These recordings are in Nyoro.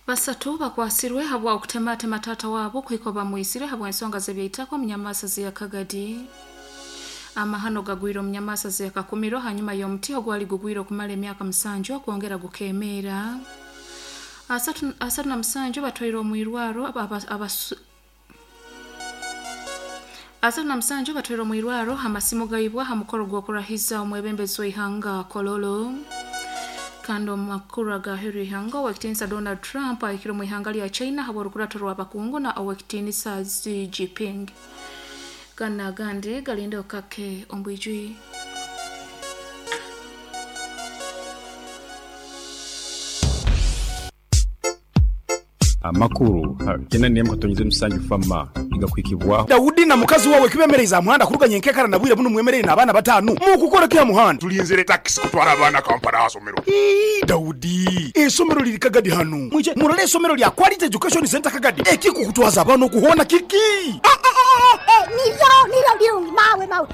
Basatu bakwasirwe habwa okutematema taata waabo kuhika bamwisire habw'ensonga z'ebyeitaka omu nyamaasa z'eya Kagadi. Amahano gagwire omu nyamaasa z'eya Kakumiro hanyuma y'omuti ogwali gugwire okumara emyaka musanju okwongera gukemeera. 37 batwairwe omu irwaro 37 batwairwe omu irwaro amasimu gaibwa ha mukoro gw'okurahiza omwebembezi w'eihanga Kololo. Kandi omu makuru agaheeru y'eihanga, Ow'ekitiinisa Donald Trump ahikire omu ihanga lya China habw'orukurato rw'abakungu na Ow'ekitiinisa Xi Jinping. Ganu n'agandi galindeho kake omu bwijwire. Amakuru ha kyenda n'emu katonyeza emisanju FAMA nigakuhikibwaho. Daudi na mukazi wawe kibemereize aha muhanda kuruga nyenkekara na bwire bunu mwemereire n'abaana batanu. Mukukora ki aha muhanda? Tulinzire takisi kutwara abaana Kampala aha somero. Ii, Daudi, eisomero liri Kagadi hanu. Mwije murole eisomero lya Quality Education Centre Kagadi. Ekikukutwaza abaana oku hoona kiki? Niryo, niryo birungi mawe, mawe.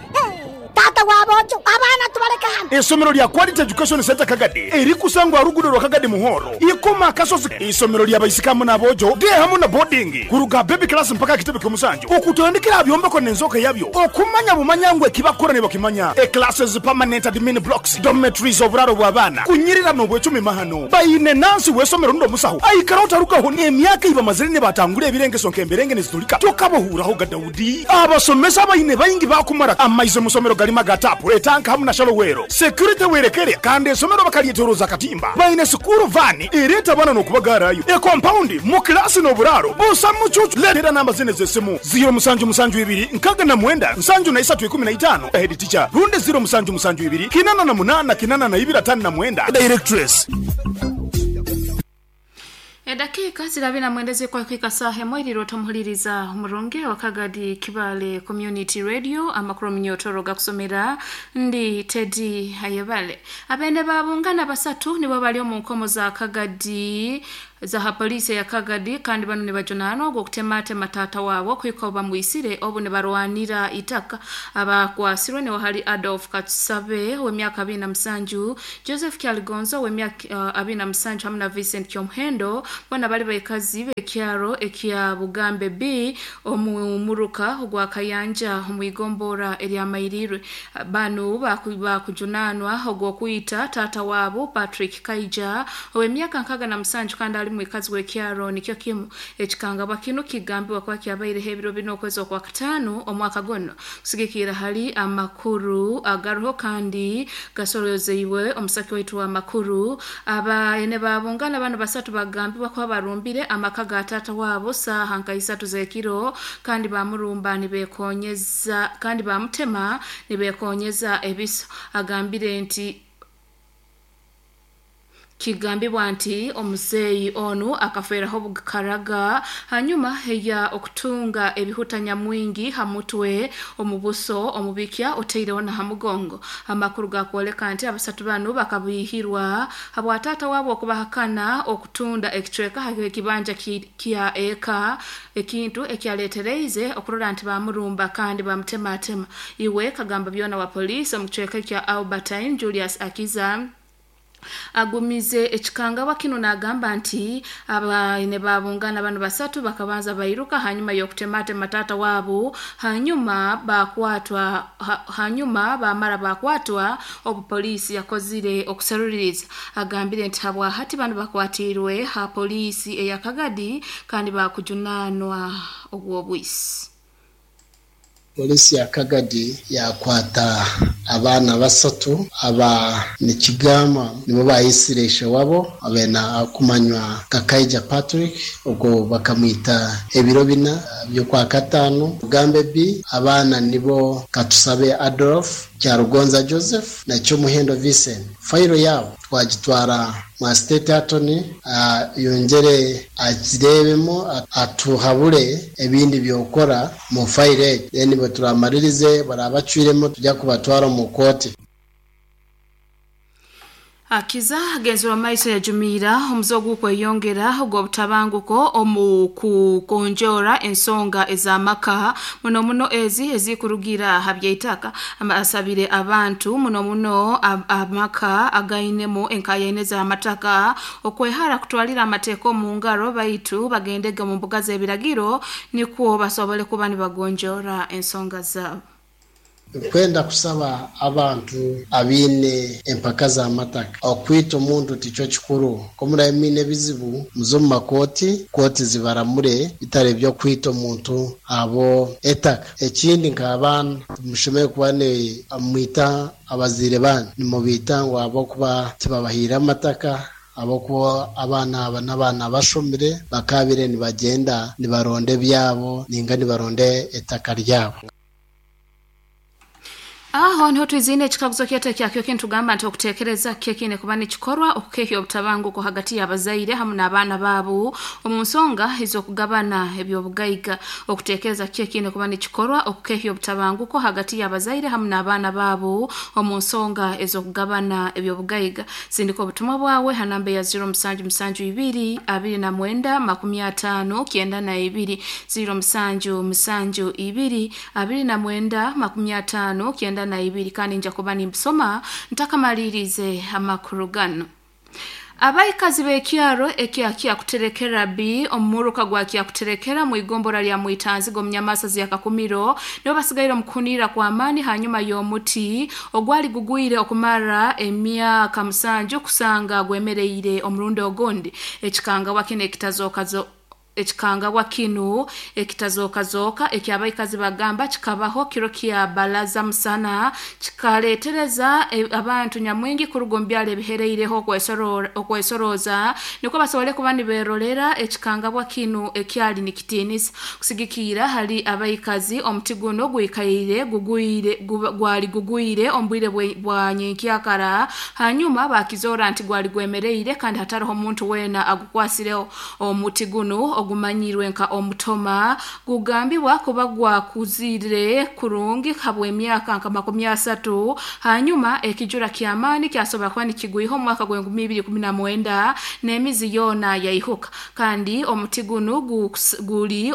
Taata wa boojo, abaana tubaleke hanu. Eisomero lya Quality Education Centre Kagadi erikusangwa aha ruguudo rwa Kagadi Muhoro, Ikoma Akasozi. Eisomero lya baisiki hamu n'aboojo, day hamu na boarding, kuruga aha baby class mpaka aha kitebe ky'omusanju, okutandikira aha byombeko n'enzooka yabyo, okumanya bumanya ngu eki bakukora nibakimanya, e classes, permanent admin blocks, dormitories, oburaaro bw'abaana, kunyirira n'obwecumi mahano. Baine nansi w'eisomero rundi omusaho aikaraho tarugaho n'emyaka ei bamazire nibatangura ebirengeso nk'emberenge nizitulika tokabahuuraho ga Daudi. Abasomesa abaine baingi baakumara amaizi omu somero garimu aga taapu, etanka hamu na shalowero. Security werekere kandi esomero bakaryetoroza akatimba. Baine sikuuru vaani ereeta abaana n'okubagaarayo. Ekompaundi, mu kilaasi n'oburaaro busa mucuucu. Leetera namba zinu ez'esimu, ziiro musanju musanju ibiri nkaaga na mwenda nsanju na isatu ikumi na itaano, Head teacher, rundi ziiro musanju musanju ibiri kinana na munaana kinana na ibiri ataano na mwenda, Directress. Edakiika ziri abiri na mwenda ezirikwahika saaha emwe eriirwe otomuhuliriza omurungi owa Kagadi Kibaale Community Radio amakuru omunyotoro gakusomera ndi Teddy Ayebale. Abeene ba Bungana basatu nibo bari omu nkomo za Kagadi za ha poliisi eya Kagadi kandi banu nibajunaanwa ogw'okutematema taata waabo kuhika obu bamwisire obu nibarwanira itaka. Abakwasirwe niho hari Adolf Katusabe ow'emyaka abiri na musanju, Joseph Kyaligonza ow'emyaka abiri na musanju hamu na Vincent Kyomuhendo boona bali baikazi b'ekyaro ekya Bugambe B omu muruka ogwa Kayanja omu igomborra erya Mairirwe. Banu bakujunaanwa ogw'okwita taata waabo Patrick Kaija ow'emyaka 67 kandi ali mwikazi w'ekyaro nikyo kimu. Ekikangabwa kinu kigambibwa kuba kyabaireho ebiro bina okwezi Okwakataano omwaka gunu. Kusigikirra hali amakuru agaroho kandi gasorozeibwe omusaki waitu w'amakuru, abaene ba Bungana banu basatu bagambibwa kuba barumbire amaka ga taata wabo saaha nka isatu z'ekiro kandi bamurumba nibekonyeza kandi bamutema nibekonyeza ebiso. Agambire nti Kigambibwa nti omuzeeyi onu akafeeraho bukaraga hanyuma ya okutunga ebihuta nyamwingi ha mutwe, omu buso, omu bikya otaireho na ha mugongo. Amakuru gakwoleka nti abasatu banu bakabiihirwa habwa taata wabo okubahakana okutunda ekicweka ha ekibanja kya eka ekintu ekyaletereize okurora nti bamurumba kandi bamutematema. Iwe kagamba byona wa poliisi omu kicweka ekya Albertine Julius Akiza Agumize ekikangabwa kinu nagamba nti abaine ba Bungana banu basatu bakabanza bairuka hanyuma y'okutematema taata wabu hanyuma bakwatwa hanyuma bamara bakwatwa obu poliisi yakozire okuseruliriza. Agambire nti habwahati banu bakwatiirwe ha poliisi eya Kagadi kandi bakujunanwa ogw'obwisi. Poliisi ya Kagadi yakwata abaana basatu aba nikigambwa nibo bayisire ishe wabo abaine arikumanywa nka Kaija Patrick ogwo bakamwita ebiro bina by'Okwakataano. Bugambe B, abaana nibo Katusabe Adolf, Kyarugonza Joseph na Kyomuhendo Vincent. Fayiro yaabo twagitwara mwa State Attorney ayongyere agireebemu atuhabure ebindi by'okukora omu fayiro egi then bweturamaririze baraba bacwiremu tujya kubatwara omu kooti. Akiza agenzerwa maiso yajumiira omuze ogw'okweyongera ogw'obutabanguko omu kukonjora ensonga ez'amaka muno muno ezi ezikurugira ha by'eitaka. Asabire abantu muno muno amaka againemu enkayaine z'amataka okwehara kutwalira amateeka omu ngaro, baitu bagendege omu mbuga z'ebiragiro nikwo basobole kuba nibagonjora ensonga zaabo. Nkwenda kusaba abantu abaine empaka z'amataka, okwita omuntu tikyo kikuru. Ko murabe mwine ebizibu muze omu makooti, kooti zibaramure, bitari eby'okwita omuntu abo etaka. Ekindi nk'abaana timushemereire kuba mwita abazaire banyu, nimubiita ngu ahabw'okuba tibabahaire amataka, ahabw'okuba abaana aba n'abaana bashomire bakabire nibagyenda nibaronda ebyabo ninga nibaronda etaka ryabo. Aho niho twizine ekikaguzo kyaitu ekyakyo kintugamba nti okuteekereza kyekine kuba nikikorwa okukehya obutabanguko hagati y'abazaire hamu n'abaana baabo omu nsonga ez'okugabana eby'obugaiga. Okuteekereza kyekine kuba nikikorwa okukehya obutabanguko hagati y'abazaire hamu n'abaana baabo omu nsonga ez'okugabana eby'obugaiga. Sindika obutumwa bwawe ha namba ya 0772 29 50 92, 0772 29 50 92, kandi nja kuba nimbisoma ntakamalirize amakuru gano. Abaikazi b'ekyaro ekya Kyakuterekera B omu muruka gwa Kyakuterekera mu igombora lya Mwitanzigo omu Nyamasazi ya Kakumiro nibo basigaire omu kuhunirra kw'amaani hanyuma y'omuti ogwali gugwire okumara emyaka 7 kusanga gwemereire omurundi ogundi. Ekikangabwa kinu ekitazookazo ekikangabwa kinu ekitazookazoka ekyabaikazi bagamba kikabaho kiro kya balaza musana, kikaleetereza abantu nyamwingi kuruga omu byaro ebihereireho okwesoroza nikwo basobole kuba niberolera ekikangabwa kinu ekyali nikitiinisa. Kusigikiira hali abaikazi, omuti guno gwikaire gugwire gwali gugwire omu bwire bwa nyenkyakara, hanyuma bakizoora nti gwali gwemereire kandi hataroho omuntu weena agukwasireho. Omuti guno ogumanyirwe nka omutoma gugambibwa kuba gwakuzire kurungi habw'emyaka nka 30, hanyuma ekijura ky'amaani kyasobora kuba nikigwiha omu mwaka gw'enkumi ibiri kumi na mwenda n'emizi yoona yaihuka. Kandi omuti gunu guli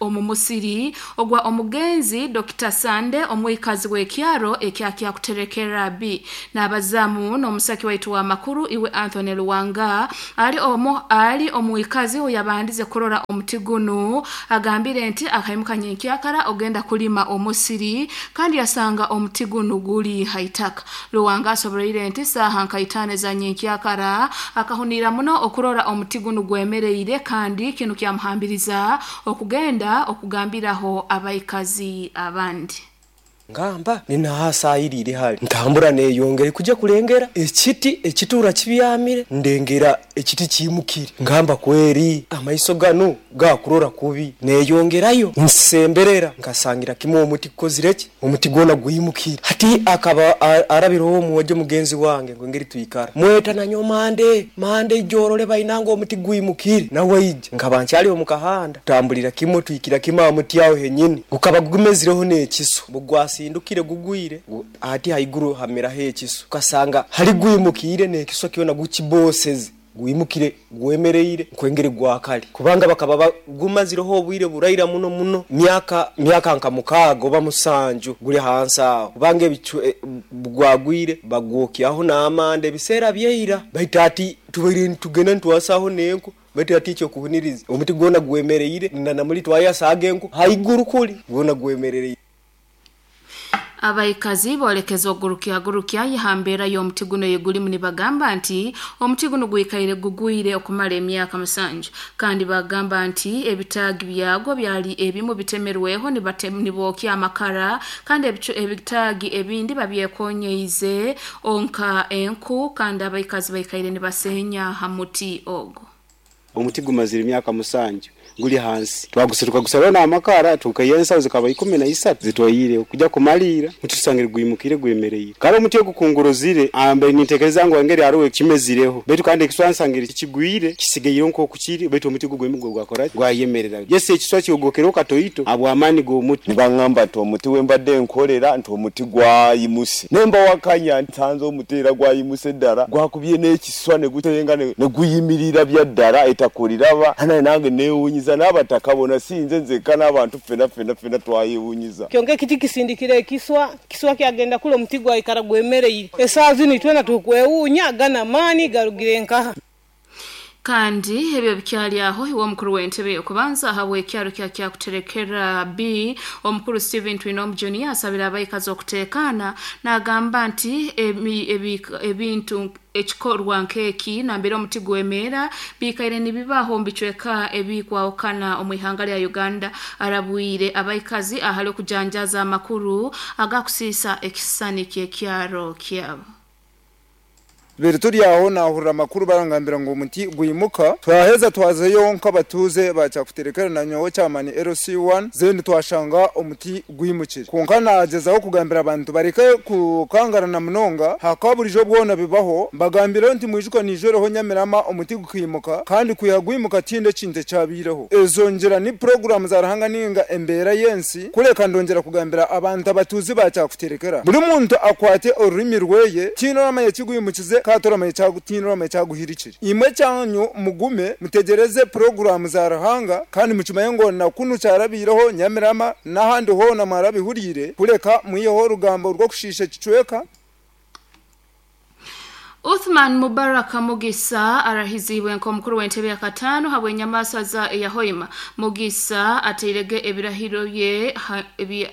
omu musiri ogwa omugenzi Dr. Sande, omwikazi w'ekyaro ekya Kyakuterekera B. N'abazaamu n'omusaki waitu w'amakuru iwe Anthony Luwanga ali omwikazi oyabandize kurora omuti gunu, agambire nti akaimuka nyenkyakara ogenda kulima omusiri kandi yasanga omuti gunu guli haitaka. Luwanga asoboleire nti saaha nka 5 za nyenkyakara akahunira muno okurora omuti gunu gwemereire, kandi kinu kyamuhambiriza okugenda okugambiraho abaikazi abandi. Ngamba ninahasayirire hali ntambura neyongere kujya kulengera ekiti ekitura kibyamire, ndengera ekiti kimukire, ngamba kweri amaiso gano gakurora kubi, neyongerayo nsemberera nkasangira kimwe omuti kukozireki, omuti gwona gwimukire. Hati akaba arabireho omwojo mugenzi wange ngo ngeri twikara mweta nanyo mande mande ijorole bainanga omuti gwimukire, nawe ija nkaba nkyali omu kahanda tambulira kimwe twikira kimwe amuti aho henyini gukaba gumezireho n'ekiso bugwasindukire gugwire ati haiguru hameraho ekiso, ukasanga hali gwimukire n'ekiso kyona gukiboseze gwimukire gwemereire nkwengere gwakali, kubanga bakaba gumazireho obwire buraira muno muno myaka nka 6 oba 7 guli hansi aho, kubanga ebicu gwagwire bagwokyaho n'amande ebiseera byeira, baitu ati tubaire nitugenda nitwasaho n'enku, baitu ati ekyo kuhuniriza omuti gwona gwemereire na namuli twayasaga enku haiguru kuli gwona gwemereire. Abaikazi boolekeza ogurukya yahambeera y'omuti guno yegulimu, nibagamba nti omuti guno gwikaire gugwire okumara emyaka 7, kandi bagamba nti ebitaagi byagwo byali ebimu bitemerweho nibookya amakara, kandi ebitaagi ebindi babyekonyeize onka enku, kandi abaikazi baikaire nibasenya ha muti ogwo. Omuti gumazire emyaka 7. Guli hansi twagusira tukagusaraho n'amakara tukaiha ensaho zikaba 13 zitwaire kujya kumalira mutusangire gwimukire gwemereire. Kale omuti ogukunguruzire ambe nintekereza ngu engeri hariho ekimezireho, baitu kandi ekiswa nsangire kigwire kisigaire nk'oku kiri, baitu omuti gugwemugwe gwakora gwayemerera. Yesi ekiswa kyogokereho katoito abw'amaani g'omuti. Nibangamba nti omuti wembadde nkorera nti omuti gwayimuse, nemba wakanya nsanze omuti era gwayimuse ddala gwakubye n'ekiswa ne gutenga ne guyimirira bya ddala ettaka oliraba. Hana nange neewuunyiza n'abataka bona sinze nzekka n'abantu ffena ffena ffena twayewuunyiza. Kyonka ekiti kisindikire ekiswa, kiswa kyagenda kula omuti gwayikara gwemereire. Esaaha zinu itwena tukwewuunya gana maani garugire nkaha. Kandi ebyo bikyali aho iwe omukuru w'entebe y'okubanza ahabw'ekyaro kya Kyakuterekera B omukuru Stephen Twinomu Junior asabira abaikazi okuteekaana, n'agamba nti ebintu ekikorwa nk'eki nambere omuti gwemeera biikaire nibibaho omu bicweka ebikwahukana omu ihanga lya Uganda. Arabwire abaikazi ahali okujanjaza amakuru agakusiisa ekisisani ky'ekyaro kyabo. Biri turi aho nahurira amakuru barangambira ngu omuti gwimuka, twaheza twazeyo nk'abatuuze ba Kyakuterekera na nyowe chairman LC1 then twashanga omuti gwimukire. Kwonka nagyezaho kugambira abantu bareke kukangarana munonga, hakaba burijo bwona bibaho, mbagambire nti mwijuka nijoreho Nyamirama omuti gukimuka kandi kwiha gwimuka tihine ekintu ekyabiireho. Ezo ngira ni puroguramu za Ruhanga ninga embeera y'ensi, kureka ndongyera kugambira abantu abatuuzi ba Kyakuterekera buri muntu akwate orurimi rweye, tihine oramanya ekigwimukize katoramanya tinorama kyaguhirikire. Imwe kyanyu mugume mutegereze puroguramu za Ruhanga kandi mukimaye ngo na kunu kyarabiireho Nyamirama n'ahandi hoona mwarabihuriire, kureka mwiheho orugambo rw'okushiisha ekicweka. Uthman Mubaraka Mugisa arahizibwe nk'omukuru w'entebe ya kataano habw'enyamaswa za eyahoima. Mugisa ateirege ebirahiro bye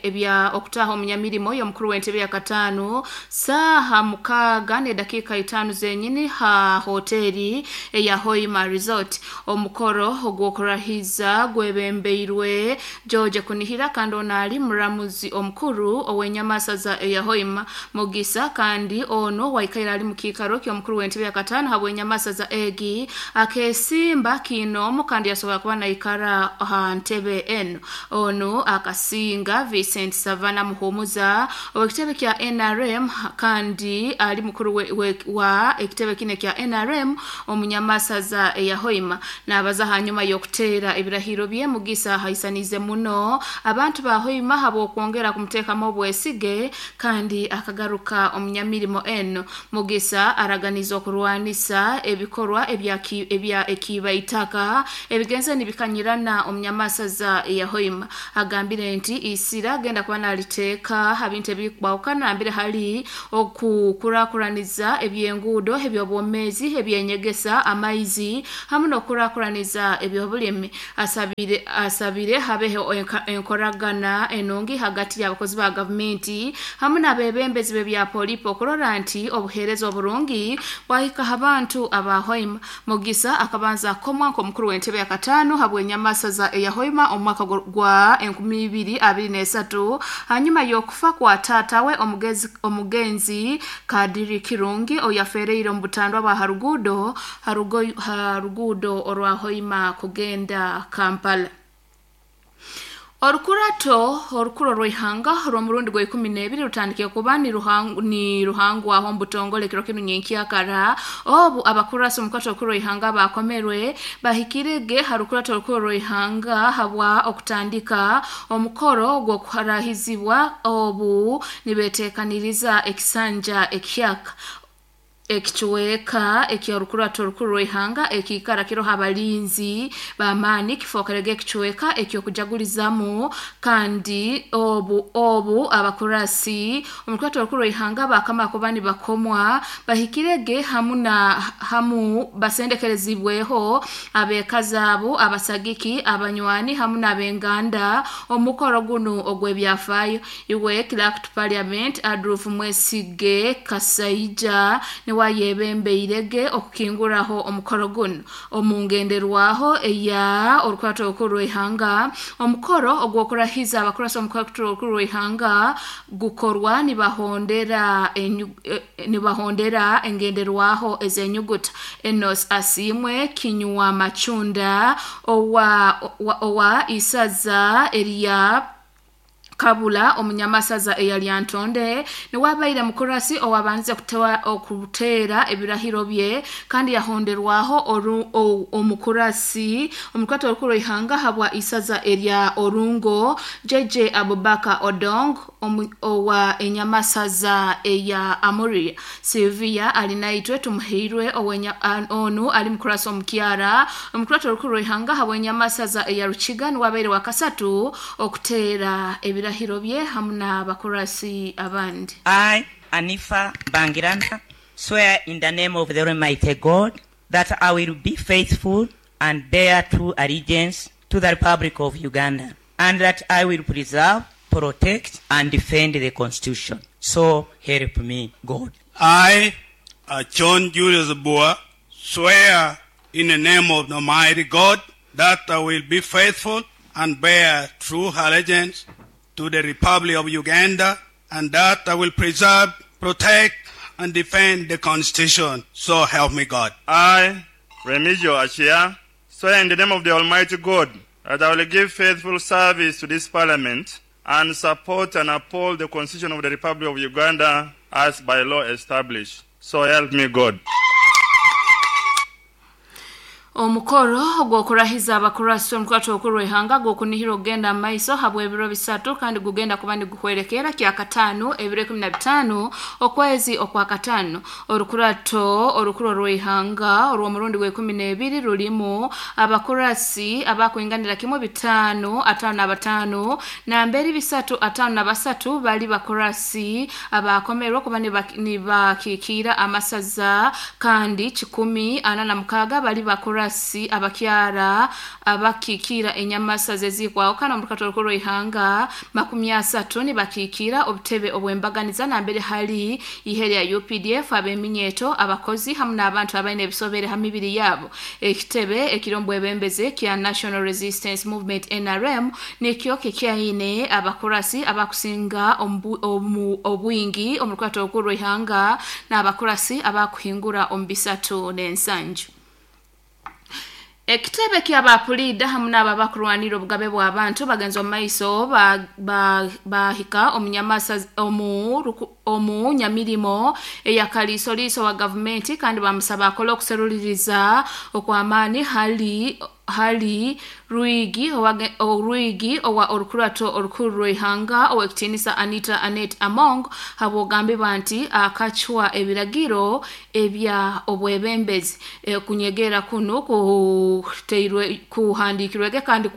ebya okutaha omunyamirimo y'omukuru w'entebe ya kataano saaha 6:05 zenyini ha hoteri eya Hoima Resort. Omukoro ogw'okurahiza gwebembeirwe George Kunihira kandi ono ali muramuzi omukuru ow'enyamaswa za eyahoima. Mugisa kandi ono waikaire ali mu kiikaro ky'omukuru w'entebe ya kataano habw'enyamaswa za egi akesimba kiinoomu kandi yasobola kuba naikara ha ntebe eno. Ono akasinga Vincent Savana Muhumuza ow'ekitebe kya NRM kandi ali mukuru wa ekitebe kine kya NRM omunyamaswa za eyahoima. N'abaza hanyuma y'okuteera ebirahiro bye, Mugisa haisanize muno abantu ba Hoima habw'okwongera kumuteekamu obwesige kandi akagaruka omunyamirimo eno. Mugisa araganiza okurwanisa ebikorwa ebya ekiiba itaka ebigenze nibikanyirana omunyamaswa za eyahoima. Agambire nti isira agenda kuba naliteeka ha bintu ebikwahukana nambere hali okukurakuraniza ebyenguudo, ebyobwomeezi, ebyenyegesa, amaizi hamu n'okukurakuraniza ebyobulimi. Asabire habeho enkoragana enungi hagati y'abakozi ba gavumenti hamu n'abebembezi b'ebya polipo okurora nti obuheereza oburungi bwahika abantu aba Hoima. Mugisa akabanza akomwa nk'omukuru w'entebe ya kataano habw'enyamaswa za eyahoima omu mwaka gwa 2023 hanyuma y'okufa kwa taatawe omugenzi Kadiri Kirungi oyafereire omu butandwa bwa haruguudo orwa Hoima kugenda Kampala. Orukurato orukuro rw'ihanga rw'omurundi gwa 12 rutandikire kuba ni ruhangwaho omu butongole kiro kinu nyenkyakara obu abakurasi omu rukurato orukuru rw'ihanga bakomerwe bahikirege ha rukurato orukuru rw'ihanga habwa okutandika omukoro gw'okuharahizibwa obu nibeteekaniriza ekisanja ekyaka. Ekichweka eky'orukurato orukuru rw'ihanga ekiikara kiroho abalinzi b'amaani kifookerege ekichweka eky'okujagulizamu kandi obu abakurasi omu rukurato orukuru rw'ihanga bakama kuba nibakomwa bahikirege hamu basendekerezibweho abekazaabo, abasagiki, abanywani hamu n'abenganda omukoro gunu ogw'ebyafaayo. Iwe Clerk to Parliament Adolf Mwesige Kasaija Niwayebembeirege okukinguraho omukoro guno omungenderwaho eya orukurato orukuru rw'ihanga. Omukoro ogw'okurahiza abakurasi omukurato orukuru rw'ihanga gukorwa nibahondera engenderwaho ez'enyuguta. Enos Asiimwe Kinywa Machunda owa isaza erya Kabula omunyamasaza eyali Antonde niwabaire mukurasi owabanze okuteera ebirahiro bye, kandi yahonderwaho omukurasi omukurato orukuru ihanga habwa isaza erya Orungo JJ Abubakar Odong owa enyamasaza eya Amuria. Sylvia Alinaitwe Tumuheirwe onu ali mukurasi omukyara omukurato orukuru ihanga habwa enyamasaza eya Rukiga niwabaire wakasatu okuteera ebirahiro bye hamu n'abakurasi abandi. I, Anifa Bangirana, swear in the name of the Almighty God that I will be faithful and bear true allegiance to the Republic of Uganda, and that I will preserve, protect, and defend the Constitution. So help me God. I, John Julius Boa, swear in the name of the Almighty God that I will be faithful and bear true allegiance to the Republic of Uganda, and that I will preserve, protect, and defend the Constitution. So help me God. I, Remigio Achia, swear in the name of the Almighty God that I will give faithful service to this Parliament and support and uphold the Constitution of the Republic of Uganda as by law established. So help me God. Omukoro ogw'okurahiza abakurasi omukurato orukuru rw'ihanga gw'okunihira okugenda mu maiso habw'ebiro 3, kandi gugenda kuba niguhwerekera kyakataano ebiro 15 okwezi okwakataano. Orukurato orukuru rw'ihanga orw'omurundi gwa 12 rulimu abakurasi abakwinganira kimwe 555 namberi 353 bali bakurasi abakomerwa kuba nibakiikira amasaza, kandi 146 bali bakurasi abakyara abakikira enyamasa zezikwaho. Kana omurukato orukuru rw'ihanga 30 nibakikira obutebe obwembaganiza nambere hali ihe lya UPDF, ab'eminyeto, abakozi hamu n'abantu abaine ebisobere ha mibiri yabo. Ekitebe ekirombo ebembeze kya National Resistance Movement NRM nikyo kikyaine abakurasi abakusinga obwingi omurukato orukuru rw'ihanga n'abakurasi abakuhingura omu 37. Ekitebe ky'abapulida hamu n'ababakurwanira obugabe bw'abantu bagenza omu maiso bahika omunyamirimo eyakaliisoliiso wa gavumenti, kandi bamusaba akole okuseruliriza okw'amaani hali Rwigi owa orukurato orukuru rw'ihanga ow'ekitiinisa Anita Anet Among habw'ogambibwa nti akacwa ebiragiro ebya obwebembezi. Kunyegera kunu kuhandiikirwege kandi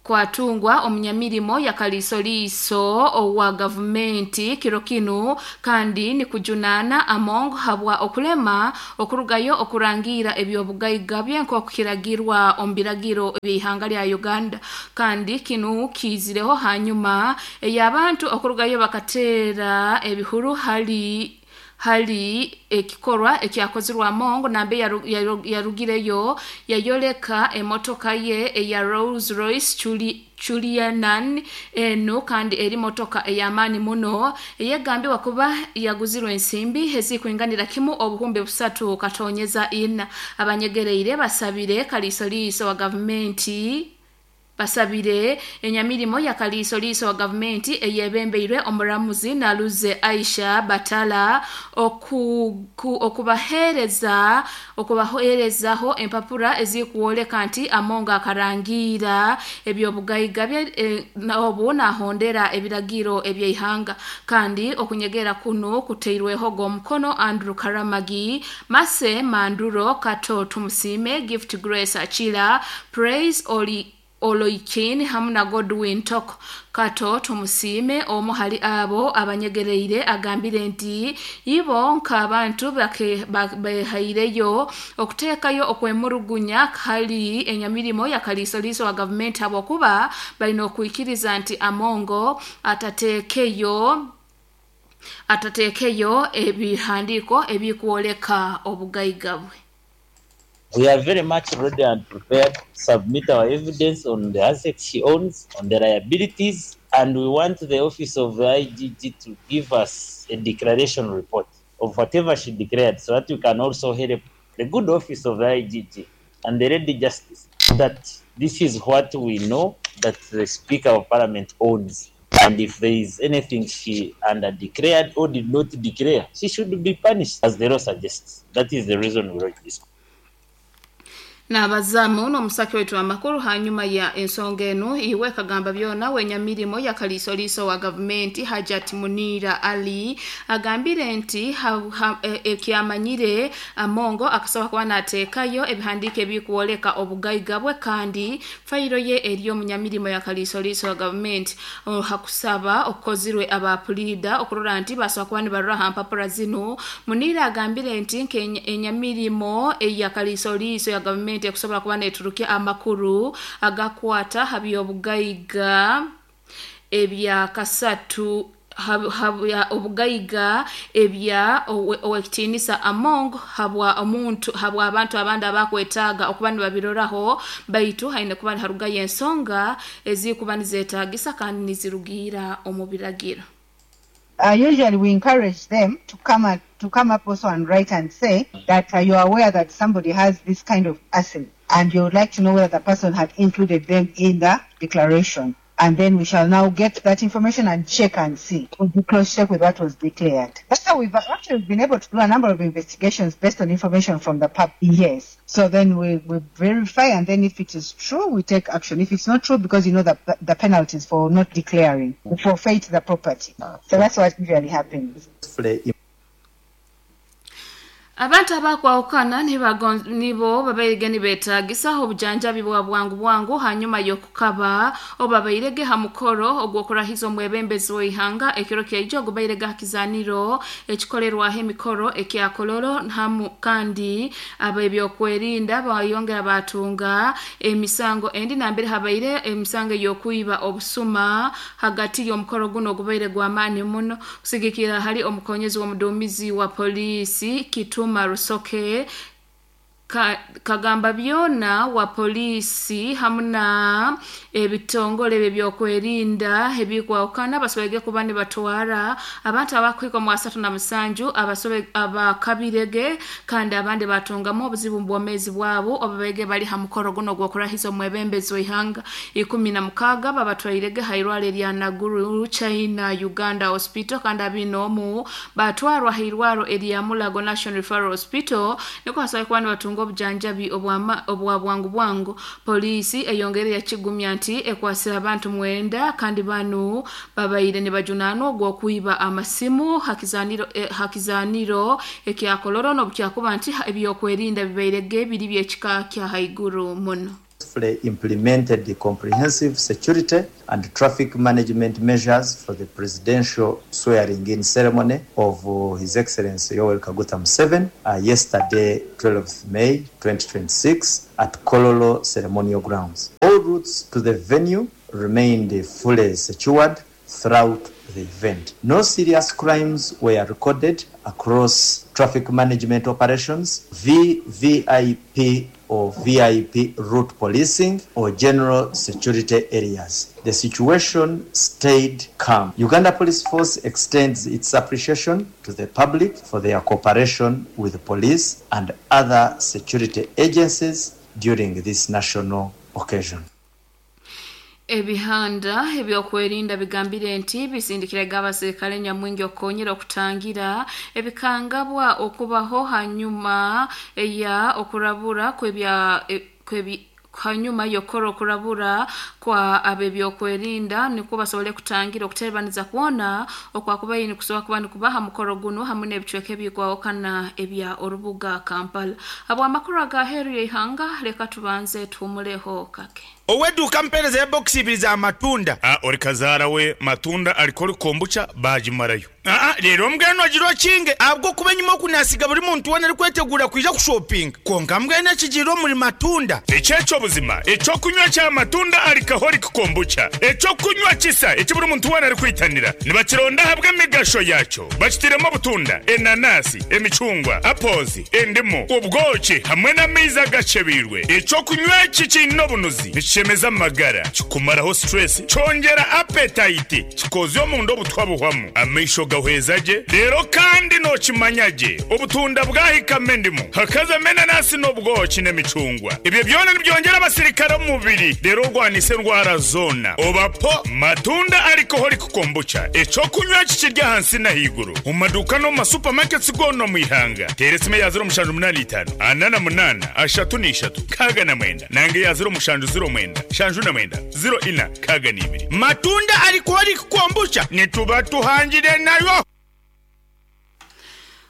kwatungwa omunyamirimo yakaliisoliiso owa gavumenti kiro kinu, kandi nikujunana Among habwa okulema okurugayo okurangira ebyobugaiga bye nk'okukiragirwa omu biragiro by'ihanga lya Uganda. Kandi kinu kiizireho hanyuma ey'abantu okurugayo bakateera ebihuru hali ekikorwa ekyakozirwe Among nambe yarugireyo yayoleka emotoka ye eya Rolls Royce Julianan eno, kandi eri motoka ey'amaani muno eyegambibwa kuba yaguzirwe ensimbi ezikuinganira kimu 3.4. Abanyegereire basabire kaliisoliiso wa gavumenti basabire enyamirimo ya kaliisoliiso wa gavumenti eyebembeirwe omuramuzi Naluze Aisha Batala okubaheerezaho empapura ezikuwoleka nti Among akarangira ebyobugaiga bye obu nahondera ebiragiro eby'ihanga. Kandi okunyegera kuno kuteirweho g'omukono Andrew Karamagi, Mase Manduro, Kato Tumusime, Gift Grace Achila, Praise Oli Oloikin hamu na Godwin Toko. Kato Tumusime omu hali abo abanyegereire agambire nti ibo nk'abantu behaireyo okuteekayo okwemurugunya hali enyamirimo ya kaliisoliiso wa gavumenti habwokuba balina okwikiriza nti Amongo atateekeyo Atateekeyo ebihandiiko ebikwoleka obugaiga bwe. We are very much ready and prepared to submit our evidence on the assets she owns, on the liabilities, and we want the office of the IGG to give us a declaration report of whatever she declared so that we can also help the good office of the IGG and the Lady Justice that this is what we know that the Speaker of Parliament owns. And if there is anything she under declared or did not declare, she should be punished as the law suggests. That is the reason we wrote this. Nabazaamu n'omusaki waitu amakuru hanyuma ya ensonga enu iwe kagamba byona wenyamirimo ya kaliisoliiso wa gavumenti Hajat Munira Ali agambire nti ekyamanyire Amongo akasobola kuba nateekayo ebihandiiko ebikwoleka obugaiga bwe kandi fayiro ye eri omunyamirimo ya kaliisoliiso wa gavumenti hakusaba okukozirwe abapuliida okurora nti basobola kuba nibarora ha mpapura zinu. Munira agambire nti enyamirimo eya kaliisoliiso ya gavumenti ekusobola kuba neturukia amakuru agakwata ha byobugaiga ebya kasatu obugaiga ebya owekitiinisa Among habwa omuntu habwa abantu abandi abakwetaaga okuba nibabiroraho baitu haine kuba harugayo ensonga ezikuba nizeetaagisa kandi nizirugiira omu biragiro. Usually we encourage them to come up also and write and say that you are aware that somebody has this kind of asset and you would like to know whether the person had included them in the declaration. And then we shall now get that information and check and see. We'll cross-check with what was declared. That's how we've actually been able to do a number of investigations based on information from the public. Yes. So then we verify, and then if it is true, we take action. If it's not true, because you know the penalties for not declaring, we forfeit the property. So that's what usually happens. Abantu abakwawukana nibo babairege nibeetagisa obujanjabi bwa bwangu bwangu hanyuma y'okukaba obabairege ha mukoro ogw'okurahiza omwebembezi w'eihanga ekiro kyaijo ogubairege ha kizaniro ekikolerwaho emikoro ekya Kololo hamu kandi ab'ebyokwerinda bayongera batunga emisango endi nambere habaire emisango ey'okwiba obusuma hagati y'omukoro guno ogubaire gw'amaani muno kusigikira hali omukonyezi w'omuduumizi wa poliisi Kitu Marusoke kagamba byona wa polisi hamuna ebitongole ebyokwerinda ebikwawukana basobege kuba nibatwara abantu abakwika mu 37 abasobe abakabirege kandi abandi batungamu obuzibu mu bwomezi bwabo obabege bali ha mukoro guno gw'okurahiza omwebembezi w'eihanga 16 babatwairege hairwale lya Naguru China Uganda Hospital kandi abinomu batwarwa hairwaro erya Mulago National Referral Hospital niko hasobola kuba nibatunga obujanjabi obwa bwangu bwangu. Polisi eyongere yakigumya nti ekwasira abantu 9 kandi banu babaire nibajunaanwa ogw'okwiba amasimu hakizaniro ekya Kololo n'obukyakuba nti ebyokwerinda bibairege biri by'ekika kya haiguru muno. Implemented the comprehensive security and traffic management measures for the presidential swearing-in ceremony of His Excellency Yoweri Kaguta Museveni yesterday, 12th May 2026, at Kololo Ceremonial Grounds. All routes to the venue remained fully secured throughout the event. No serious crimes were recorded across traffic management operations, VVIP or VIP route policing, or general security areas. The situation stayed calm. Uganda Police Force extends its appreciation to the public for their cooperation with the police and other security agencies during this national occasion. Ebihanda ebyokwerinda bigambire nti bisindikiraga abaserikale nyamwingi okukonyera okutangira ebikangabwa okubaho hanyuma ya okurabura hanyuma yokora okurabura kwa abebyokwerinda niko basobole kutangira okuterebaniza kuona okwakubaye nikusobola kuba nikubaha mukoro guno hamwe n'ebicweka ebikwawukana ebya orubuga Kampala. Abwamakuru agaheru y'eihanga leka tubanze tuhumuleho kake. Oweduka mpereza ya box ibiri za matunda. Ori kazara we matunda alikori kombucha bajimarayo. Aa reero mbwenu ogira okinge ahabw'okuba enyima oku naasiga buri muntu weena arikwetegura kwija kushopinga. Kwonka mbwenu ekigiire omuri Matunda. Eki eky'obuzima, eky'okunywa kya Matunda Alcoholic Kombucha, eky'okunywa kisa eki buri muntu weena arikwitanira. Nibakironda ahabw'emigasho yaakyo. Bakitairemu obutunda, enanasi, emicungwa, apples, endimu, obwoki hamwe n'amaizi agakyebeirwe. Eky'okunywa eki kiine obunuzi, nikishemeza amagara, kikumaraho stress, kyongyera appetite, kikoozya omunda obutwa buhwamu, amaisho gahweza gye, reero kandi nookimanya gye obutunda bwahikamu endimu, hakazamu enanasi n'obwoki n'emicungwa. Ebyo byona nibyongyera abasirikare omu mubiri reero orwanise endwara zoona. Oba po Matunda Alcoholic Kombucha, eky'okunywa eki kiri ahansi n'ahaiguru omu maduuka n'omu ma supermarkets goona omu ihanga. Teera esimu eya 0785 48 33 69 nanga eya 0709 79 04 62. Matunda Alcoholic Kombucha nituba tuhangire nayo.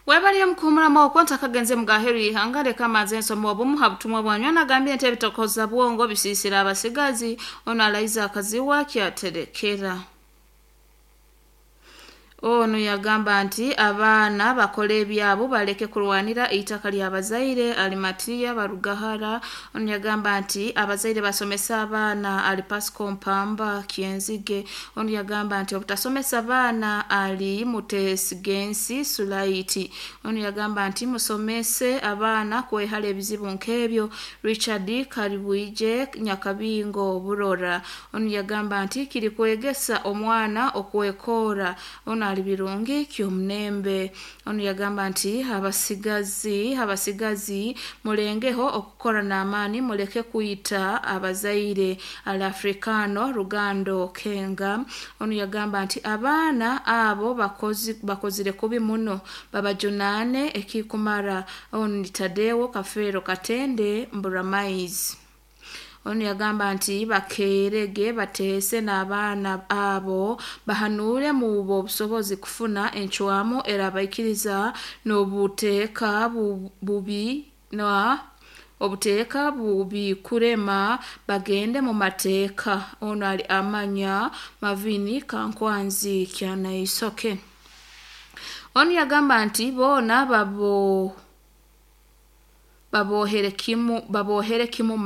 Webale omukuhumuramu okwo ntakagenze mugaheru y'ihanga leka manze nsoma obumu ha butumwa bwanyu anagambye nti ebitokoza bwongo bisiisira abasigazi ono alaiza akaziwa kyaterekera. Ono yagamba nti abaana bakole ebyabo baleke kurwanira eitaka ly'abazaire Alimatiya Barugahara. Ono yagamba nti abazaire basomesa abaana ali Pasco Mpamba Kyenzige. Ono yagamba nti obutasomesa abaana ali Mutesigensi Sulaiti. Ono yagamba nti musomese abaana kwehala ebizibu nk'ebyo Richard Karibwije Nyakabingo Burora. Ono yagamba nti kiri kwegesa omwana okwekora. Ono ali birungi ky'omunembe. Ono yagamba nti abasigazi mulengeho okukora n'amaani muleke kuyita abazaire ali Afrikano Rugando Kenga. Ono yagamba nti abaana abo bakozire kubi muno babajunaane ekikumara. Ono ni Tadeo Kafeero Katende Mburamaizi. Ono yagamba nti bakerege bateese n'abaana abo bahanure mu obusobozi kufuna encwamu era baikiriza n'obuteeka bubi na obuteeka bubi kurema bagende mu mateeka. Ono ali amanya Mavini Kankwanzi Kyanaisoke. Ono yagamba nti boona babohere kimu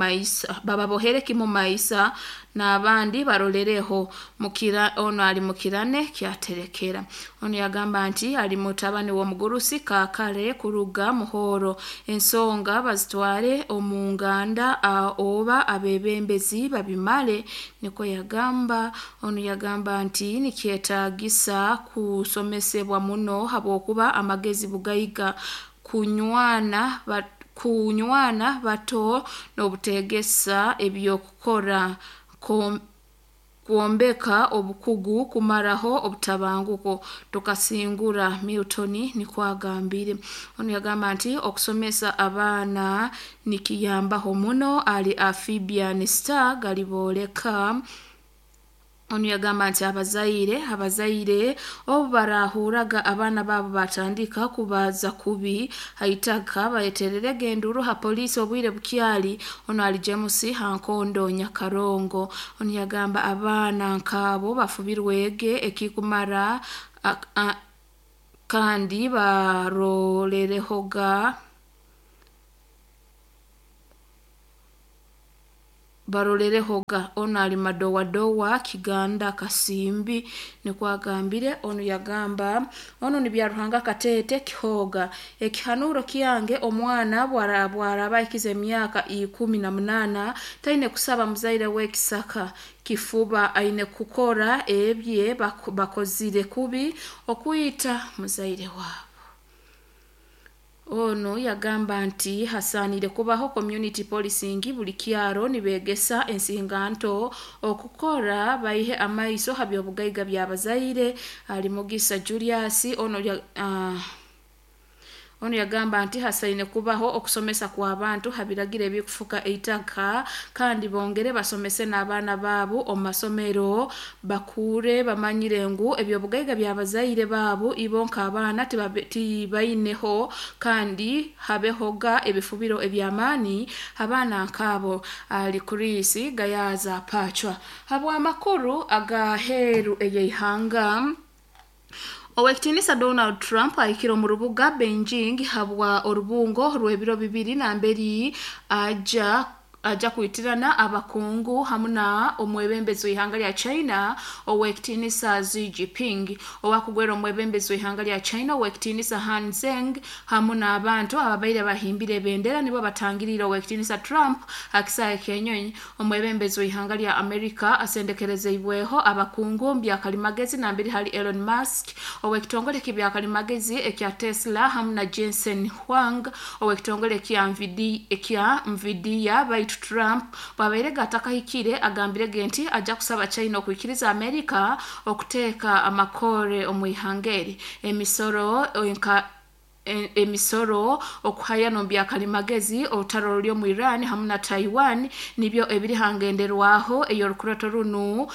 maisa n'abandi barolereho mukira. Ono ali mukirane kyaterekera. Ono yagamba nti ali mutabani w'omugurusi Kakale kuruga Muhoro. Ensonga bazitware omu nganda oba abebembezi babimale, niko yagamba. Ono yagamba nti nikyetaagisa kusomesebwa muno habwokuba amagezi bugaiga kunywana bato n'obutegesa ebyokukora kuombeka obukugu kumaraho obutabanguko tukasingura Milton niko agambire. Ono yagamba nti okusomesa abaana nikiyambaho muno ali Amphibian Star galiboleka. Ono yagamba nti abazaire obu barahuraga abaana babo batandika kubaza kubi haitaka bayetererege enduru ha polisi obwire bukyali. Ono ali James Hankondo Nyakarongo. Ono yagamba abaana nkabo bafubirwege ekikumara kandi barolerehoga. Ono ali madowadowa Kiganda Kasimbi niko agambire. Ono yagamba ono ni Byaruhanga Katete Kihoga. Ekihanuro kyange omwana bwaraba ikize emyaka 18 taine kusaba muzaire w'ekisaka kifuba aine kukora ebye bakozire kubi okuyita muzaire wabo. Ono yagamba nti hasanire kubaho community policing buli kyaro nibegesa ensinganto okukora baihe amaiso habyobugaiga by'abazaire ali Mugisa Julius. Ono yagamba nti hasaine kubaho okusomesa kwa abantu habiragire ebikufuka eitaka kandi bongere basomese n'abaana baabo omu masomero bakure bamanyire ngu ebyobugaiga by'abazaire baabo ibonka abaana tibaineho kandi habehoga ebifubiro eby'amaani abaana nkabo ali Chris Gayaza Pachwa. Habwa amakuru agaheru eyeihanga. Owekitinisa Donald Trump ahikire omu rubuga Beijing habwa orubungo rw'ebiro 2 namberi aja kwitirana abakungu hamu na omwebembezi w'ihanga lya China Owekitinisa Xi Jinping. Owakugwera omwebembezi w'ihanga lya China Owekitinisa Han Zeng hamu n'abantu ababaire bahimbire ebendera nibo batangirire Owekitinisa Trump akisaahe k'enyonyi. Omwebembezi w'ihanga lya Amerika asendekerezeibweho abakungu byakalimagezi namberi hali Elon Musk owekitongole kibyakalimagezi ekya Tesla hamu na Jensen Huang owekitongole ekya Nvidia. Baitu Trump bwabaire atakahikire agambire nti aja kusaba China okwikiriza Amerika okuteeka amakore omu ihanga eri emisoro okuhaya nombyakalimagezi olutaro ruli omu Iran hamu na Taiwan nibyo ebiri hangenderwaho ey'orukurato runu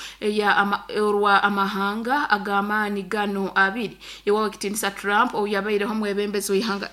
orwa amahanga ag'amaani gano abiri. Iwe Owekitinisa Trump oyabaireho omwebembezi w'ihanga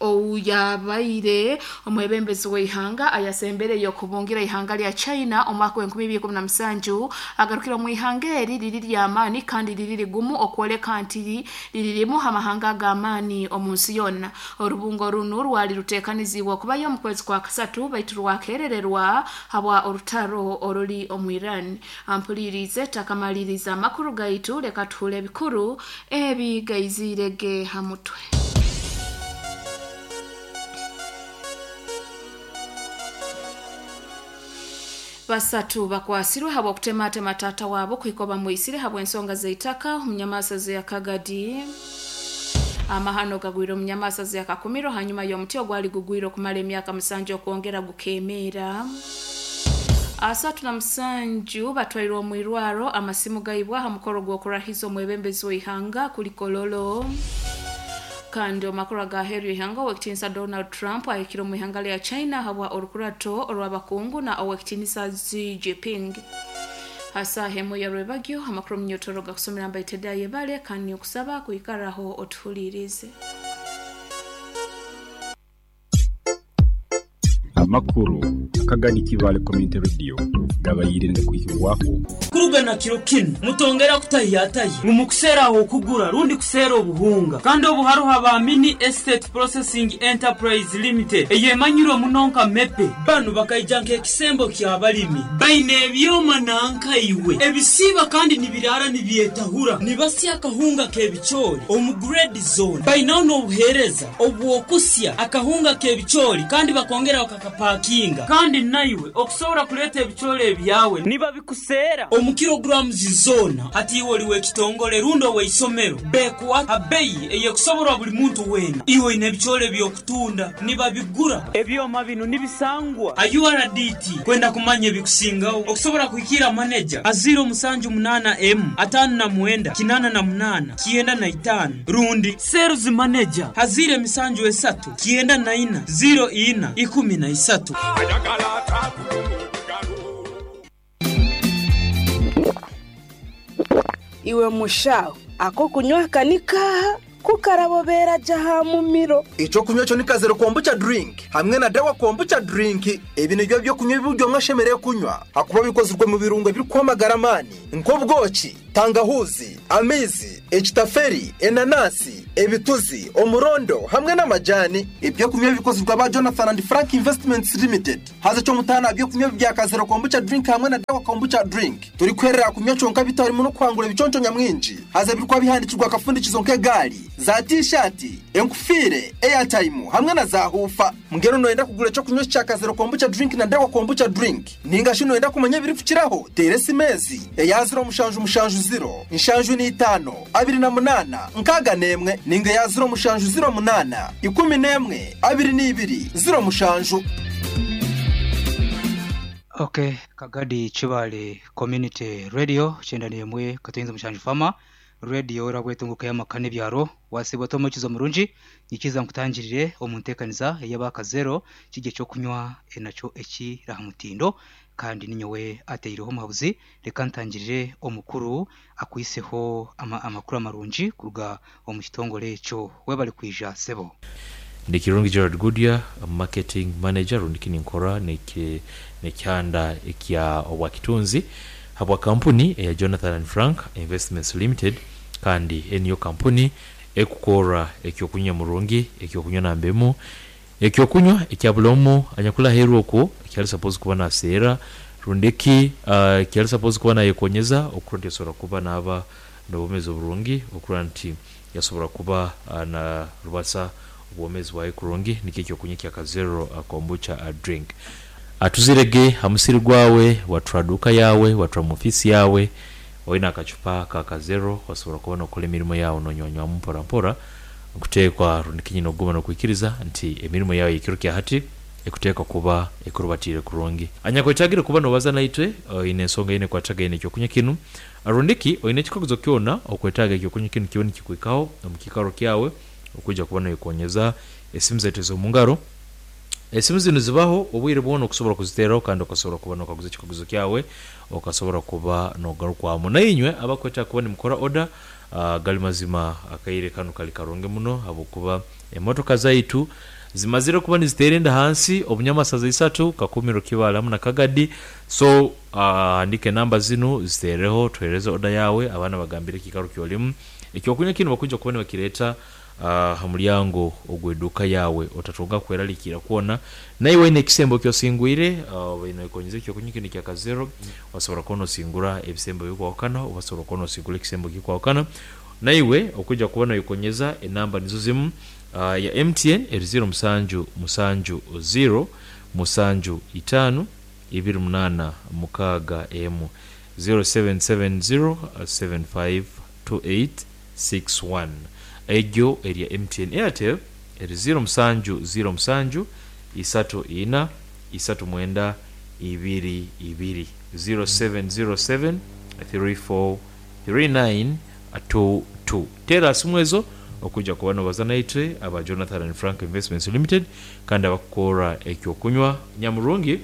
oyabaire omwebembezi w'ihanga ayasembereyo okubungira ihanga lya China omwaka wa 2017 agarukira mu ihanga eri riri ly'amaani kandi riri rigumu okwoleka nti riririmu amahanga ag'amaani omu nsi yonna. Orubungo runu rwali ruteekanizibwa okubayo omu kwezi kwa kasatu baitu rwakerererwa habwa orutaro oruri omu Iran. Ampulirize takamaliriza amakuru gaitu, leka tuhule ebikuru ebi gaizirege ha mutwe. Basatu bakwasirwe habwa kutematema tata wabo kuhika bamwisire habwa ensonga z'eitaka omunyamasazi ya Kagadi. Amahano gagwire omunyamasazi ya Kakumiro hanyuma y'omuti ogwali gugwire okumala emyaka 7 okwongera gukemeera. 37 batwairwe omu irwaro amasimu gaibwa ha mukoro gw'okurahiza omwebembezi w'ihanga kuli Kololo. Kandi omakuru agaheru ihanga Owekitinisa Donald Trump ahikire omu ihanga lya China habwa orukurato orw'abakungu na Owekitinisa Xi Jinping. Hasaha ya rwebagyo amakuru munyotoro gakusomera mbaiteda yebale kandi okusaba kuikaraho otuhulirize. Amakuru Akagadi Kibale Community Radio gabayire ngakuhikibwaho kuruga na kiro kinu mutongera kutahiyatahi ngu mukuseera aho okugura rundi kuseera obuhunga kandi obuharuha ba Mini Estate Processing Enterprise Limited eyemanyirwe muno nka mepe. Banu bakaija nk'ekisembo ky'abalimi baine ebyoma nankaiwe ebisiiba kandi nibiraara nibyetahura nibasya akahunga k'ebicoori omu grade zone. Bainaho n'obuheereza obw'okusya akahunga k'ebicoori kandi bakongera bakakapakinga. Kandi naiwe okusobora kuleeta ebicoori ebyawe nibabikuseera omu kilograms zoona. Hati iwe oli w'ekitongole rundi ow'eisomero, bekuwa ha beyi ey'ekusoborwa buli muntu weena. Iwe oine ebicoori eby'okutunda nibabigura. Ebyoma binu nibisangwa ha URDT. Kwenda kumanya ebikusingaho okusobora kuhikiira maneja ha 078 M 59 88 95 rundi sales manager ha 073 94 04 13. Iwe mushaho ako kunywa kanika kukarabobera jaha mumiro. Ekyokunywa kyo ni Kazero Kombucha drink hamwe na Dawa Kombucha drink. Ebi nibyo byokunywa ebiryo mwashemereye kunywa hakuba bikozirwe mu birungo ebirikwamagara amaani nk'obwoki, tangahuzi, amaizi, ekitaferi, enanasi, ebituzi, omurondo hamwe n'amajani. Ebyokunywa bikozirwe aba Jonathan and Frank Investments Limited. Haza kyomutana byokunywa bya Kazero Kombucha drink hamwe na Dawa Kombucha drink turi kwerera kunywa kyonka bitarimu no kwangura ebiconco nyamwingi. Haza birikwa bihandikirwa akafundikizo nk'egali za t-shirt, enkufire, airtime hamwe na za hufa. Mungero noyenda kugura ekyo kunywa kya Kazero Kombucha drink na Dawa Kombucha drink ninga shi noyenda kumanya ebirikukiraho tere simezi eya 0 7 7 0 7 5 28 61 ninga ya 0 7 0 8 11 22 07. Okay, Kagadi Kibale Community Radio 91 katuyinza mushanju fama radio erabwetunguka y'amakane byaro wasibwa tomukizo murungi nikiza nkutangirire omuntekaniza ey'abakazero kijye cyo kunywa enacyo ekirahamutindo kandi ninyowe ateireho muhabuzi. Reka ntangirire omukuru akwiseho amakuru amarungi kuruga omu kitongole ekyo webali kwija sebo. Ndi Kirungi Gerard Goodyear, marketing manager rundi ninkora nekyanda ekya obwakitunzi habwa kampuni eya Jonathan and Frank Investments Limited Kandi eniyo kampuni ekukora ekyokunywa murungi, ekyokunywa namba emu, ekyokunywa ekya buli omu anyakuli aheeru okwo ekyali suppose kuba naseera rundiki ekyali suppose kuba nayekonyeza okurora nti asobora kuba naaba nobwomezi oburungi, okurora nti yasobora kuba narubasa obwomezi bwaye kurungi nikyo ekyokunywa ekya Kazero Kombucha Drink. Atuzirege ha musiri gwawe, watura duuka yawe, watura mu ofiisi yawe, oine akacupa ka Kazero wasobora kuba nokora emirimo yawe nonywanywamu mpora mpora. Nkuteekwa rundi kinyine okuguma nokwikiriza nti emirimo yawe eyekiro kya hati ekuteekwa kuba ekurubatiire kurungi. Anyakwetagire kuba nobaza naitwe oine ensonga yoona ekwatagaine nekyokunywa kinu rundiki oine ekikaguzo kyona okwetaaga ekyokunywa kinu kibe nikikuhikaho omu kiikaro kyawe okwija kuba noyekonyeza esimu zaitu ezomungaro. Esimu zinu zibaho obwire bwona okusobora kuziteraho kandi okasobora kuba nokaguza ekikaguzo kyawe okasobora kuba nogarukwamu. Nainywe abakwetaaga kuba nimukora oda, gali mazima akaire kanu kali karungi muno habwokuba emotoka zaitu zimazire kuba nizitera enda hansi omunyamasaza isatu, Kakumiro, Kibaale hamu na Kagadi. So handika enamba zinu zitereho tuhereze oda yawe abaana bagambire ekiikaro kyolimu. Ekyokunywa kinu bakwija kuba nibakireta ha mulyango ogw'eduuka yaawe. Otatunga kweraliikirra kwona. Naiwe oine ekisembo eki osingwire, obaire noyekonyeza ekyokunywa kinu ekya Kazero, wasobora kuba nosingura ebisembo ebikwahukana oba osobora kuba nosingura ekisembo ekikwahukana. Naiwe okwija kuba noyekonyeza enamba nizo zimu, ya MTN eri ziro musanju musanju ziro musanju itaano ibiri munaana mukaaga emu, 0770 7528 61. Egyo eri ya MTN. Airtel eri ziro musanju ziro musanju isatu ina isatu mwenda ibiri ibiri, 0707 3439 22. Teera simu ezo okwija kuba nobaza naitwe aba Jonathan and Frank Investments Limited kandi abakukoora ekyokunywa nyamurungi.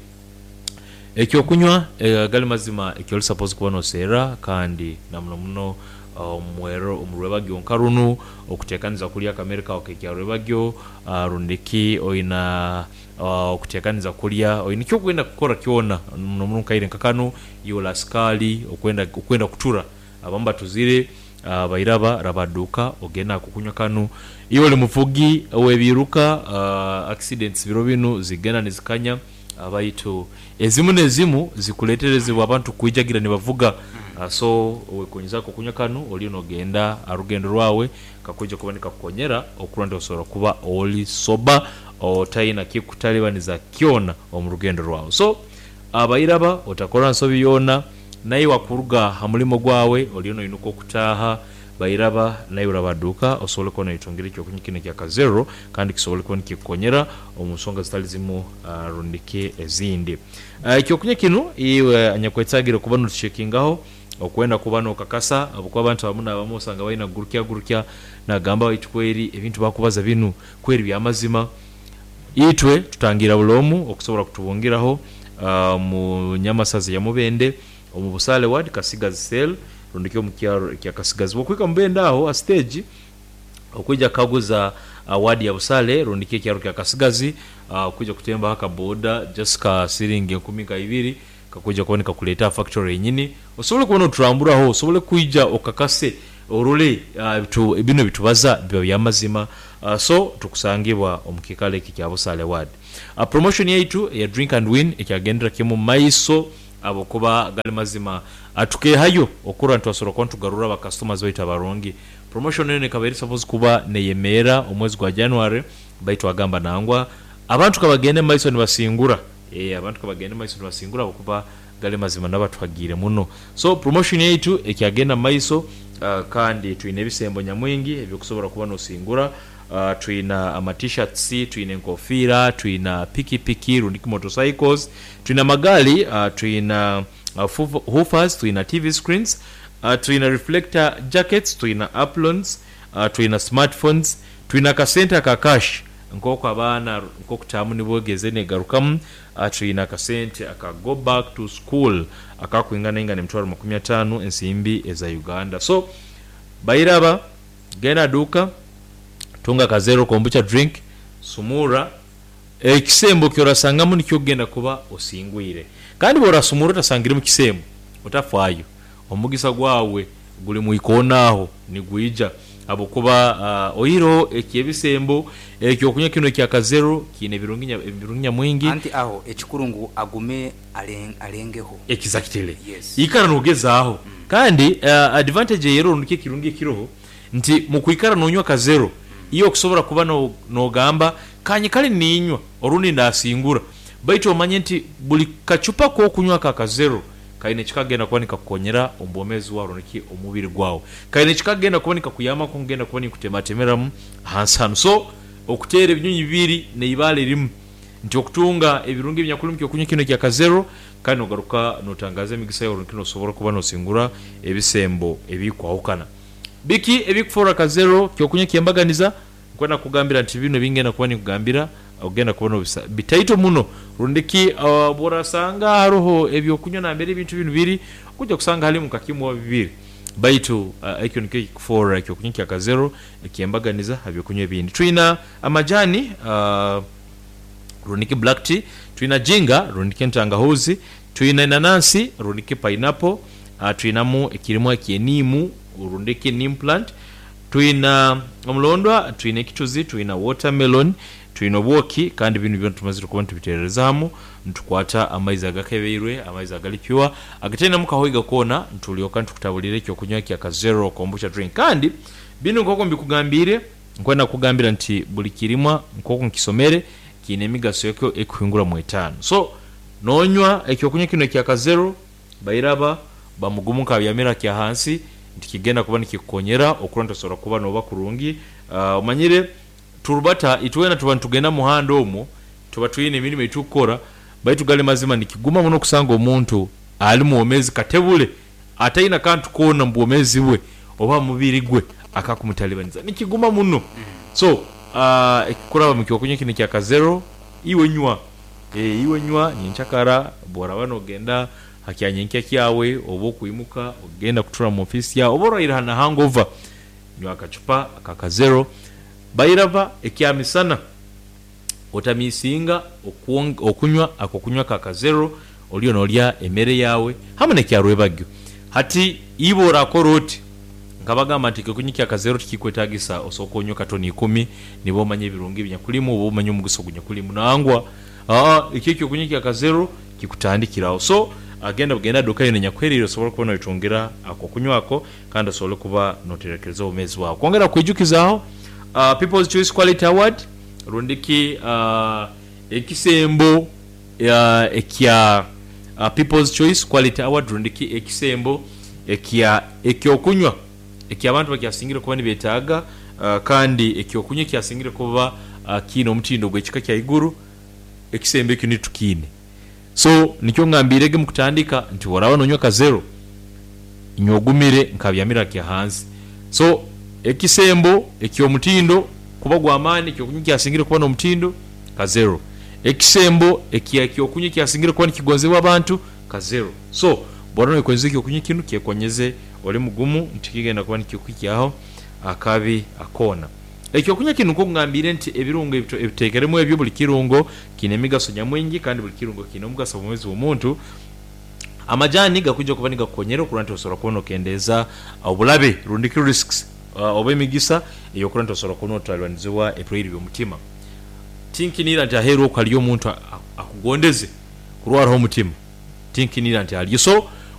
Ekyokunywa agali mazima ekyoli suppose kuba noseera kandi na muno muno omwero omu rwebagyo nka runu okutekaniza kulya akamere kawe akekyarwebagyo rundiki oina okutekaniza kulya oina ekyokwenda kukora kyona muno muno mukaire nka kanu iwe oli asikali okwenda okwenda kutura abamu batuzire bairaba raba duuka ogende akokunywa kanu iwe oli muvugi owebiruka accidents biro binu zigenda nizikanya. Baitu ezimu n'ezimu zikuleterezebwa abantu kwijagira nibavuga. So wekonyezaku okunywa kanu oliyo nogenda aha rugendo rwawe kakwija kuba nikakukonyera okurora nti osobora kuba oli sober otaina kikutalibaniza kyona omu rugendo rwawe. So abairaba otakora nsobi yoona naiwe akuruga ha mulimo gwawe oliyo noinuka okutaaha Bairaba naiwe orabaduuka osobole kuba noyetungira ekyokunywa kinu ekya Kazero kandi kisobole kuba nikikukonyera omu nsonga zitali zimu rundiki ezindi. Ekyokunywa kinu iwe anyakwetagire kuba notuchekingaho okwenda kuba nokakasa habwokuba abantu abamu nabamu osanga baina kugurukya gurukya nagamba baitu kweri ebintu bakubaza binu kweri byamazima. Itwe tutangira buli omu okusobora kutubungiraho mu Nyamasaza eya Mubende. Omu Busaale Ward, Kasigazi Cell, rundi omu kyaro ekya Kasigazi. Bwokuhika Mubende aho ha siteegi okwija kukaguza ward ya Busaale rundi ki ekyaro kya Kasigazi, okwija kutembaho aka boda just ka siringi enkumi nka ibiri kakwija kuba nikakuleeta aha factory yenyini osobole kuba noturamburaho osobole kwija okakase orole binu ebitubaza biba byamazima. So tukusangibwa omu kiikaro eki ekya Busaale Ward. Promotion yaitu eya Drink and Win ekyagendera kimu mumaiso. Ahabw'okuba gali mazima, tukeehayo okurora nitwasobora kuba nitugarura ba customers baitu abarungi. Promotion enu ekaba eri suppose kuba neyemeera omwezi gwa January baitu agamba nangwa abantu kabagende mumaiso nibasingura, eeh abantu kabagende mumaiso nibasingura ahabw'okuba gali mazima nabatuhagiire muno. So promotion yaitu ekyagenda mumaiso kandi twine ebisembo nyamwingi eby'okusobora kuba nosingura. Twina ama T-shirts, twina enkofiira, twina piki piki rundi ki motorcycles, twina amagaali, twina woofers, twina TV screens, twina reflector jackets, twina aprons, twina smartphones, twina akasente aka cash nk'oku abaana nk'oku taamu nibwegeze negarukamu, twina akasente aka go back to school akakwinganaingana emitwaro makumi ataanu ensimbi eza Uganda. So bairaba. Genda duuka, tunga ka Zero Kombucha drink, sumurra, ekisembo ky'orasangamu nikyo okugenda kuba osingwire. Kandi bw'orasumurra otasangiremu kisembo, otafaayo. Omugisa gwawe guli mu ikoona aho nigwija habwokuba oihireho eky'ebisembo, ekyokunywa kinu ekya Kazero kiine ebirungi ebirungi nyamwingi. Anti aho ekikuru ngu agume alengeho. Exactly. Yes. Ikara nogezaaho. Kandi advantage ey'eroho rundi ki ekirungi ekiroho nti mukwikara nonywa Kazero, iwe okusobora kuba nogamba kanyikale ninywa orundi ndasingura. Baitu omanye nti buli kacupa k'okunywa aka Kazero kaine eki kagenda kuba nikakukonyera omu bwomeezi bwawe rundi ki omu mubiri gwawe. Kaine eki kagenda kuba nikakuyamba nk'oku ngenda kuba ninkutematemeramu hansi hanu. So, okuteera ebinyonyi bibiri n'eibaale rimu nti okutunga ebirungi ebinyakuli omu ky'okunywa kinu ekya Kazero kandi nogaruka notangaaza emigisa yawe rundi ki nosobora kuba nosingura ebisembo ebikwahukana. Biki ebikufoora Kazero ky'okunywa eky'embaganiza? Nkwenda kukugambira nti binu ebingenda kuba ninkugambira ogenda kuba nobisa bitaito muno. Rundi ki obworasanga haroho ebyokunywa nambere ebintu binu biri, oija kusanga halimu nka kimu oba bibiri. Baitu ekyo nikyo ekikufoora ekyokunywa kya Kazero eky'embaganiza ha byokunywa ebindi. Twina amajani, rundi ki black tea, twina ginger rundi ki entangahuzi, twina enanansi rundi ki pineapple, twinamu ekirimwa eky'eniimu rundi ki neem plant, Twina omulondwa, twina ekituzi, twina watermelon, twina obwoki kandi binu byona tumazire kuba nitubiterereza hamu nitukwata amaizi agakebeirwe, amaizi agali pure agatainemu kahoiga koona nitulyoka nitukutaburira ekyokunywa kya Kazero Kombucha drink. Kandi binu nkoku mbikugambiire nkwenda kukugambira nti buli kirimwa nkoku nkisomere kiine emigaso yakyo ekuhingura mu etaano. So nonywa ekyokunywa kinu ekya Kazero Bairaba bamugumu nk'abyamire akya hansi nti kigenda kuba nikikukonyera okurora nti osobora kuba noba kurungi. Omanyire turubata itwena tuba nitugenda muhanda omwo tuba twine emirimo eitukukora baitu gali mazima nikiguma muno kusanga omuntu ali mwomezi katebule ataine kantu koona mu bwomezi bwe oba mubiri gwe akakumutalibaniza nikiguma muno. So kuraba mukyokunywa kinu ekya kazero iwe nywa. Ee, iwe nywa nyenkyakara bw'oraaba noogenda ha kya nyenkya kyawe, oba okwimuka ogenda kutura mu ofiisi yaawe, oba orwaire ha na hangova, nywa akacupa aka kazero. Bairaba ekyamisana, otamiisinga okunywa ak'okunywa ka kazero, oliyo noolya emere yaawe hamu n'ekyarwebagyo. Hati iwe orakora oti, Nkabagamba nti ekyokunywa kya kazero tikikwetagisa osooke onywe katoni ikumi niba omanye ebirungi ebinyakulimu oba omanye omugusa ogunyakulimu. Nangwa, aa, ekyo ekyokunywa kya kazero kikutandikiraho. So, genda bugenda duka yona enyakuheriire osobole kuba noyetungira akokunywa ako kandi osobole kuba noterekereza obwomeezi bwawe. Kwongera kukwijukizaaho, People's Choice Quality Award rundi ki ekisembo ekya People's Choice Quality Award rundi ki ekisembo ekya ekyokunywa eky'abantu bakyasingire kuba nibetaaga kandi ekyokunywa ekyasingire kuba kiine omutindo ogw'ekika kya iguru, ekisembo ekyo nitwe tukiine. So nikyo ngambiirege mukutandika nti bworaba nonywa kazero, nywa ogumire nkabyamira kya hansi. So ekisembo eky'omutindo kuba gw'amaani, ekyokunywa ekyasingire kuba n'omutindo, kazero. Ekisembo eky'ekyokunywa ekyasingire kuba nikigonzebwa abantu, kazero. So, bw'oba noyekonyeza ekyokunywa kinu, kyekonyeze oli mugumu nti kigenda kuba nikikuhikyaho akabi koona. Ekyokunywa kinu nk'oku ngambiire nti ebirungo ebiteekeremu ebyo, buli kirungo kiine emigaso nyamwingi kandi buli kirungo kiine omugaso omu bwomeezi bw'omuntu. Amajani gakwija kuba nigakukonyera okurora nti osobola kuba nokendeeza obulabe rundi ki risks oba emigisa ey'okurora nti osobola kuba notalibaniziwa ebirwaire by'omutima. Tinkiniira nti aheeru oku haliyo omuntu akugondeze kurwaraho omutima. Tinkiniira nti aliyo. So,